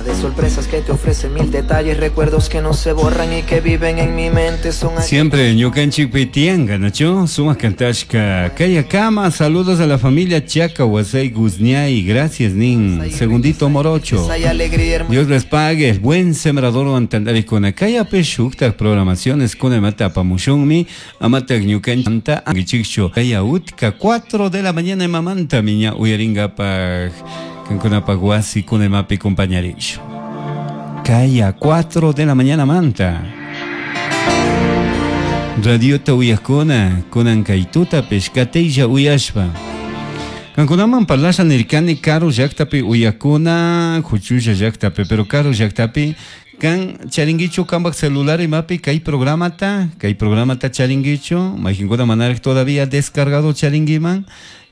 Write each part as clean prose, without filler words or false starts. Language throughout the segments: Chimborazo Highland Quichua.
Llena de sorpresas que te ofrecen mil detalles, recuerdos que no se borran y que viven en mi mente. Son Siempre ñukanchikpi tiyanka, nachu? Sumak kantashka. Kaya kama, saludos a la familia Chaca, Huasay, Guzñay, gracias, nin. Segundito Morocho. Hay alegría, hermano. Dios les pague, buen sembrador antandarikuna. Kayapi shuktak programaciones kuna imata apamushunmi, amatak ñukanchanta angichikchu. Kaya utka 4 de la mañana imamanta miña uyaringapak kankunapak wasi kuna imapi compañarishu. Kaya 4 de la mañana manta. Radiota uyakuna, kunan kaytuta pescatella uyashpa. Kankunaman parlasha nirkani karu llaktapi uyakuna, huchulla llaktapi, pero karu llaktapi kan charinguichu kanpak celular imapi kay programata, kay programata charinguichu, mayqinkuna manaraq todavía descargado charinguiman,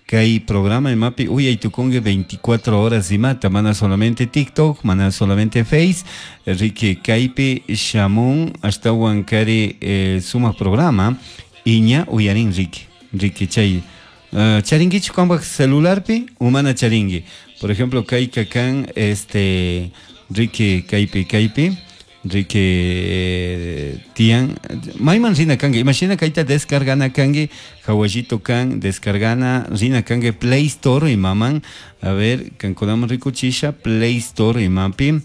kay programa imapi uyay tukunki 24 horas imata, mana solamente TikTok, mana solamente Face, riki kaypi shamun ashtawan kari sumak programa, iña uyarin riki, riki chay charinguichu kanpak celularpi umana charingui. Por ejemplo, kayka kan este riki kaypi kaypi riki tiyan mayman rina kanki, imashina kayta descargana kanki, hawallito kan descargana rina kanki Play Store imaman, a ver, kankunaman rikuchisha Play Store imapi.